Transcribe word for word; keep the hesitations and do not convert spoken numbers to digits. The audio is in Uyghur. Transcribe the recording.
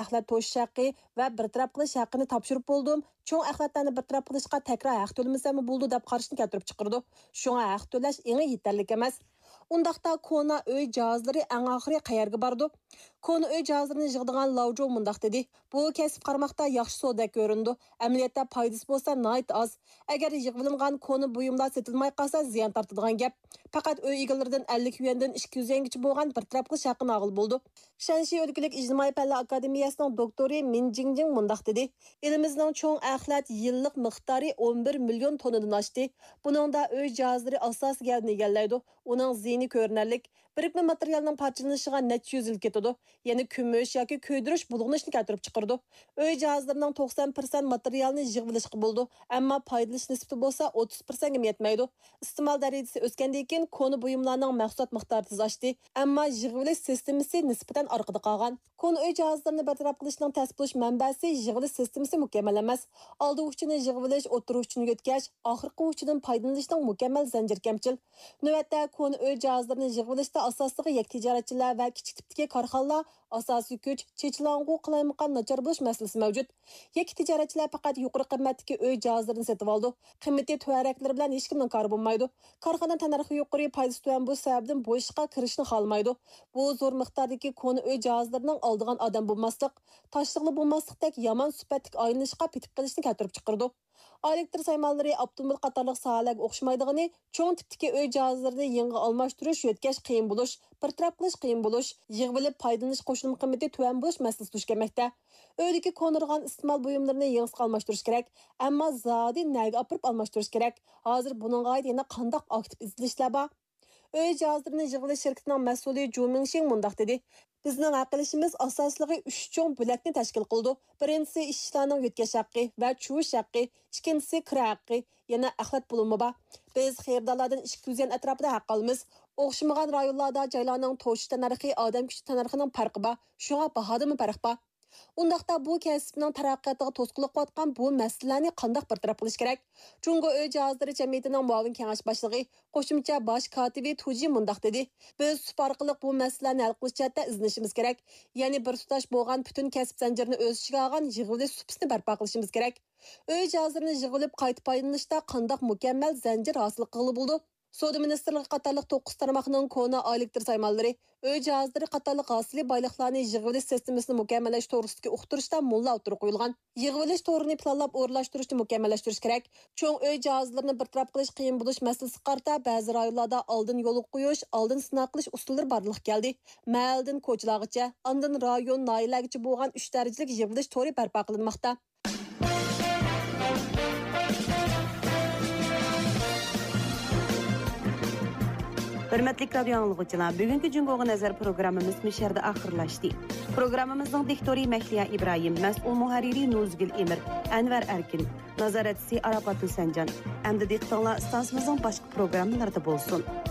خىلەت توشۇش ھەققى ۋە بىر تەرەپ قىلىش ھەققىنى تاپشۇرۇپ بولدۇم، چوڭ ئەخلەتلەرنى بىر تەرەپ قىلىشقا تەكرار ھەق تۆلىمىسەممۇ بولىدۇ، دەپ قارىشىنى كەلتۈرۈپ چىقىرىدۇ. شۇڭا ھەق تۆلەش ئېڭى يېتەرلىك ئەمەس. ئۇنداقتا كونا ئۆي جاھازلىرى ئەڭ ئاخىرى قەيەرگە بارىدۇ؟ كونا ئۆي جاھازلىرىنى يىغىدىغان لاۋ جوۋ مۇنداق دېدى: «بۇ كەسىپ قارىماقتا ياخشى سودىدەك كۆرۈنىدۇ، ئەمەلىيەتتە پايدىسى بولسا ناھايىتى ئاز. ئەگەر يىغىۋېلىنغان كونا بۇيۇملار سېتىلماي قالسا، زىيان تارتىدىغان گەپ. پەقەت ئۆي ئىگىلىرىدىن ئەللىك يۈەندىن ئىككى يۈز يۈەنگىچە بولغان بىر تەرەپ قىلىش ھەققىنى ئالغىلى بولىدۇ.» شەنشى ئۆلكىلىك ئىجتىمائىي پەنلەر ئاكادېمىيەسىنىڭ دوكتورى مىن جىڭجىڭ مۇنداق دېدى: «ئېلىمىزنىڭ چوڭ ئەخلەت يىللىق مىقدارى ئون بىر مىليون توننىدىن ئاشتى. بۇنىڭدا ئۆي جاھازلىرى ئاساسلىق يەرنى ئىگىلەيدۇ. ئۇنىڭ زىيىنى كۆرۈنەرلىك. بىرىكمە ماتېرىيالنىڭ پارچىلىنىشىغا نەچچە يۈز يىل كېتىدۇ. يەنە كۈمۈش ياكى كۆيدۈرۈش بۇلغىنىشنى كەلتۈرۈپ چىقىرىدۇ. ئۆي جاھازلىرىنىڭ توقسان پىرسەنت ماتېرىيالنى يىغىۋېلىشقا بولىدۇ، ئەمما پايدىلىنىش نىسبىتى بولسا ئوتتۇز پىرسەنتكىمۇ يەتمەيدۇ. ئىستېمال دەرىجىسى ئۆسكەندىن كېيىن كونا بۇيۇملارنىڭ مەھسۇلات مىقدارى تېز ئاشتى، ئەمما يىغىۋېلىش سىستېمىسى نىسبەتەن ئارقىدا قالغان. كونا ئۆي جاھازلىرىنى بىر تەرەپ قىلىشنىڭ تەس بولۇش مەنبەسى يىغىۋېلىش سىستېمىسى مۇكەممەل ئەمەس. ئالدى ئۇچىنى يىغىۋېلىش، ئوتتۇرا ئۇچىنى يۆتكەش، ئاخىرقى ئۇچىدىن پايدىلىنىشنىڭ مۇكەممەل زەنجىرى كەمچىل. نۆۋەتتە كونا ئۆي جاھازلىرىنى يىغىۋېلىشتا ئاساسلىقى يەككە تىجارەتچىلەر ۋە كىچىك تىپتىكى كارخانىلار، ئاساسىي كۈچ، چېچىلاڭغۇ، قالايمىقان، ناچار بولۇش مەسىلىسى مەۋجۇت. يەككە تىجارەتچىلەر پەقەت يۇقىرى قىممەتتىكى ئۆي جاھازلىرىنى سېتىۋالىدۇ. قىممىتى تۆۋەنرەكلىرى بىلەن ھېچكىمنىڭ كارى بولمايدۇ. كارخانا تەننەرخى يۇقىرى، پايدىسى تۆۋەن بولۇش سەۋەبىدىن بۇ ئىشقا كىرىشىشنى خالىمايدۇ. بۇ زور مىقداردىكى كونا ئۆي جاھازلىرىنىڭ ئالىدىغان ئادەم بولماسلىق، تاشلىغىلى بولماسلىقتەك يامان سۈپەتلىك ئايلىنىشقا پېتىپ قېلىشنى كەلتۈرۈپ چىقىرىدۇ. ئەلېكتر سايمانلىرى، ئاپتوموبىل قاتارلىق ساھەلەرگە ئوخشىمايدىغىنى، چوڭ تىپتىكى ئۆي جاھازلىرىنى يېڭىغا ئالماشتۇرۇش، يۆتكەش قىيىن بولۇش، بىر تەرەپ قىلىش قىيىن بولۇش، يىغىۋېلىپ پايدىلىنىش قوشۇلما قىممىتى تۆۋەن بولۇش مەسىلىسى دۇچ كەلمەكتە. ئۆيدىكى كونىرىغان ئىستېمال بۇيۇملىرىنى يېڭىسىغا ئالماشتۇرۇش كېرەك. ئەمما زادى نەگە ئاپىرىپ ئالماشتۇرۇش كېرەك؟ ھازىر بۇنىڭغا ئائىت يەنە قانداق ئاكتىپ ئىزدىنىشلەر بار؟ ئۆي جاھازلىرىنى يىغىۋېلىش شىركىتىنىڭ مەسئۇلى جۇ مىڭشىڭ مۇنداق دېدى: «بىزنىڭ ھەق ئېلىشىمىز ئاساسلىقى ئۈچ چوڭ بۆلەكنى تەشكىل قىلىدۇ. بىرىنچىسى ئىشچىلارنىڭ يۆتكەش ھەققى ۋە چۇۋۇش ھەققى، ئىككىنچىسى كىرا ھەققى، يەنە ئەخلەت بولۇمى بار. بىز خېرىدارلاردىن ئىككى يۈز يۈەن ئەتراپىدا ھەق ئالىمىز. ئوخشىمىغان رايونلاردا جايلارنىڭ توشۇش تەننەرخى، ئادەم كۈچى تەننەرخىنىڭ پەرقى بار، شۇڭا باھادىمۇ پەرق بار.» ئۇنداقتا بۇ كەسىپنىڭ تەرەققىياتىغا توسقۇنلۇق قىلىۋاتقان بۇ مەسىلىلەرنى قانداق بىر تەرەپ قىلىش كېرەك؟ جۇڭگو ئۆي جاھازلىرى جەمئىيىتىنىڭ مۇئاۋىن كېڭەش باشلىقى، قوشۇمچە باش كاتىپى تۇجى مۇنداق دېدى: «بىز سۇپا ئارقىلىق بۇ مەسىلىلەرنى ھەل قىلىش جەھەتتە ئىزدىنىشىمىز كېرەك. يەنى بىر تۇتاش بولغان پۈتۈن كەسىپ زەنجىرىنى ئۆز ئىچىگە ئالغان يىغىۋېلىش سۇپىسىنى بەرپا قىلىشىمىز كېرەك.» ئۆي جاھازلىرىنى يىغىۋېلىپ قايتا پايدىلىنىشتا قانداق مۇكەممەل زەنجىر ھاسىل قىلغىلى بولىدۇ؟ سودا مىنىستىرلىقى قاتارلىق توققۇز تارماقنىڭ كونا ئائىلە سايمانلىرى، ئۆي جاھازلىرى قاتارلىق ھاسىلى بايلىقلارنى يىغىۋېلىش سىستېمىسىنى مۇكەممەللەشتۈرۈش توغرىسىدىكى ئۇقتۇرۇشتا مۇنۇلار ئوتتۇرىغا قويۇلغان: يىغىۋېلىش تورىنى پىلانلاپ ئورۇنلاشتۇرۇشنى مۇكەممەللەشتۈرۈش كېرەك. چوڭ ئۆي جاھازلىرىنى بىر تەرەپ قىلىش قىيىن بولۇش مەسىلىسىگە قارىتا بەزى رايونلاردا ئالدىن يولغا قويۇش، ئالدىن سىناق قىلىش ئۇسۇللىرى بارلىققا كەلدى. مەھەللىدىن كوچىلارغىچە، ئاندىن رايون، ناھىيەلەرگىچە بولغان ئۈچ دەرىجىلىك يىغىۋېلىش تورى بەرپا قىلىنماقتا. ھۆرمەتلىك رادىيو ئاڭلىغۇچىلار، بۈگۈنكى جۇڭگوغا نەزەر پروگراممىمىز مۇشۇ يەردە ئاخىرلاشتى. پروگراممىمىزنىڭ دىكتورى مەھلىيا ئىبراھىم، مەسئۇل مۇھەررىرى نۇزگۈل ئېمىر، ئەنۋەر ئەركىن، نازارەتچىسى ئاراپات ھۈسەنجان. ئەمدى دىققىتىڭلار ئىستانسىمىزنىڭ باشقا پروگراممىلىرىدا بولسۇن.